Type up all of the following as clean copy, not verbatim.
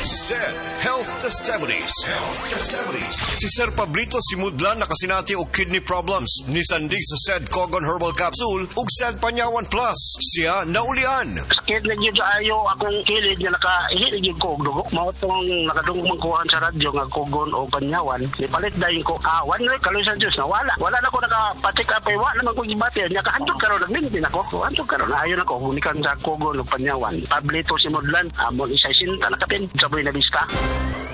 Said Health Testimonies. Health Testimonies. Si Sir Pablito Simudlan nakasinati og kidney problems. Nisandig sa Said Kogon Herbal Capsule ug Said Panyawan Plus. Siya naulian. Sakit na gyud ayo akong kilid nga nakaihi gyud ko og dugo. Mao tong nakadungog man kuhan sa radyo nga Kogon o Panyawan. Nipalit dayon ko 1 week kaloy sa Dios nawala. Wala na ko naka-check up ay wa naman ko gibati. Nya kahantod karon nagmintin ako. Hantod karon naayon ako gunikan sa Kogon o Panyawan. Pablito Simudlan amon isa sinta nakapin sa Buena Vista.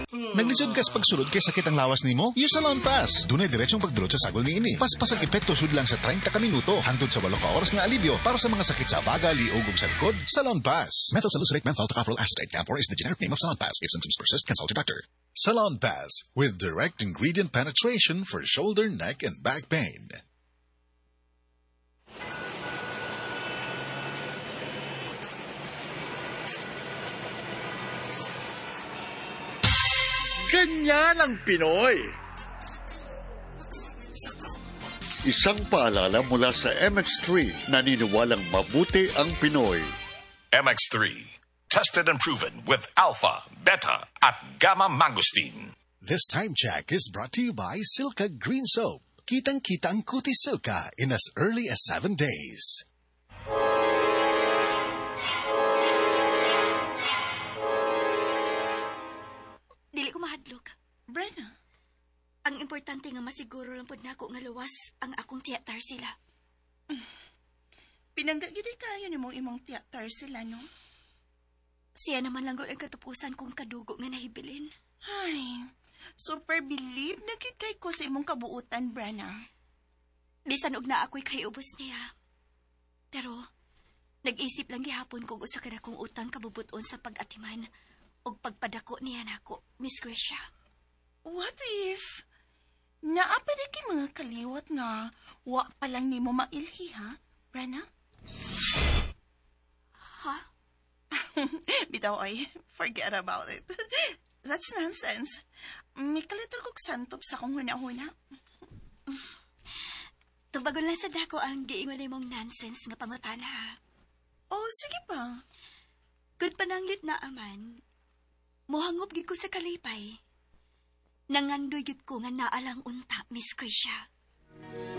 Naglisod kas pagsulod kay sakit ang lawas nimo? Use Salonpas. Dunay diretsong pagdulot sa sagol niini. Paspas ang epekto sudlang sa 30 ka minuto hangtod sa 8 ka oras nga alibyo para sa mga sakit sa baga, liog ug sa likod. Salonpas. Methyl salicylate menthol tocopherol acetate camphor is the generic name of Salonpas. If symptoms persist, consult your doctor. Salonpas with direct ingredient penetration for shoulder, neck, and back pain. Ganyan ang Pinoy. Isang paalala mula sa MX3, naniniwalang mabuti ang Pinoy. MX3, tested and proven with alpha, beta, at gamma mangosteen. This time check is brought to you by Silka Green Soap. Kitang-kita ang kutis Silka in as early as 7 days. Dili ko mahadlok. Brenna? Ang importante nga masiguro lang pod nako nga luwas ang akong tiya Tarsila. Pinangga gyud kayo nimong imong tiya Tarsila, no? Siya naman lang gud ang katupusan kong kadugo nga nahibilin. Ay, super believe na gyud kay ko sa imong kabuutan, Brenna. Bisan og na ako'y kaiubos niya. Pero nag-isip lang gihapon kung usa ka na kong utang kabubuton sa pag-atiman og pagpadako niya nako, Miss Gracia. What if naa pa di kay mga kaliwat nga wa pa lang nimo mailhi, ha, Brenna? Ha? Bitaw ay, forget about it. That's nonsense. May kalitor kog santop sa akong huna-huna. Tubagon lang sa dako ang giingon nimong nonsense nga pangutana, ha? Oh, sige pa. Good pananglit na aman. Mohangop gid ko sa kalipay. Nangandoy gid ko nga naalang unta, Miss Krisha.